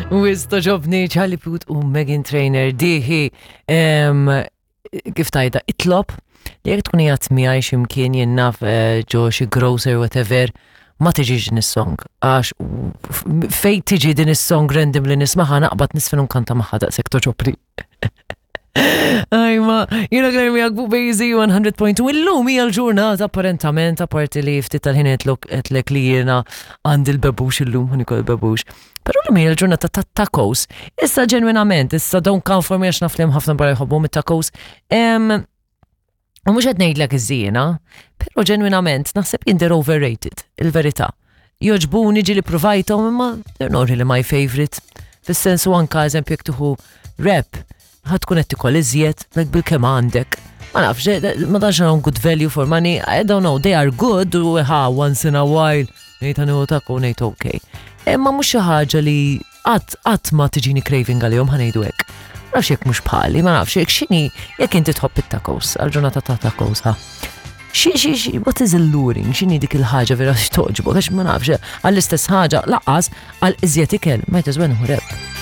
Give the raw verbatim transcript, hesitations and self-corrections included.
Wisq togħġobni Charlie Puth u Meghan Trainor diħi em, kif tajda itlob li jekk tkun qiegħed miegħi x'imkien jien naf eh, ġo xi grocer, whatever, ma tiġix din is-song, għax fej tiġi din is-song random li nismaha naqbad nisfen nkanta magħha, daqshekk togħġobni. Ajma, jiena Claire miegħek fuq Bejzi mija punt wieħed. Illum hija l-ġurnata apparentament, apparti li ftit tal-ħin għedtlek li jiena għandi l-bebux illum, ħa niekol il-bebux. Però llum hija l-ġurnata ta' tacos. Issa ġenwinament, issa don't come for me għax naf li hemm ħafna barra jħobbu mit-tacos. Em, U mhux qed ngħidlek iż-żiena, però ġenwinament naħseb jien they're overrated, il-verità. Jogħġbuni, ġieli provajthom, imma they're not really my favorite. Fis-sensu anka eżempju jekk tieħu wrap, ħa tkun qed tikol iżjed, like bil-kemm għandek. Ma nafx, ma tantx hawn good value for money, I don't know, they are good u ha, once in a while, ngħid ħa nieħu taco, ngħid okay. Imma mhux xi ħaġa li qatt qatt ma tiġini craving għalihom, ħa ngħidu hekk. Ma nafx jekk mhux bħali, ma nafx jekk x'inhi, jekk inti tħobb it-tacos, għal-ġurnata ta' tacos, ha. Xi, xi, xi, what is alluring? X'inhi dik il-ħaġa vera x'togħġbok? Għax ma nafx, għall-istess ħaġa, lanqas għal iżjed ikel, might as well nieħu wrap.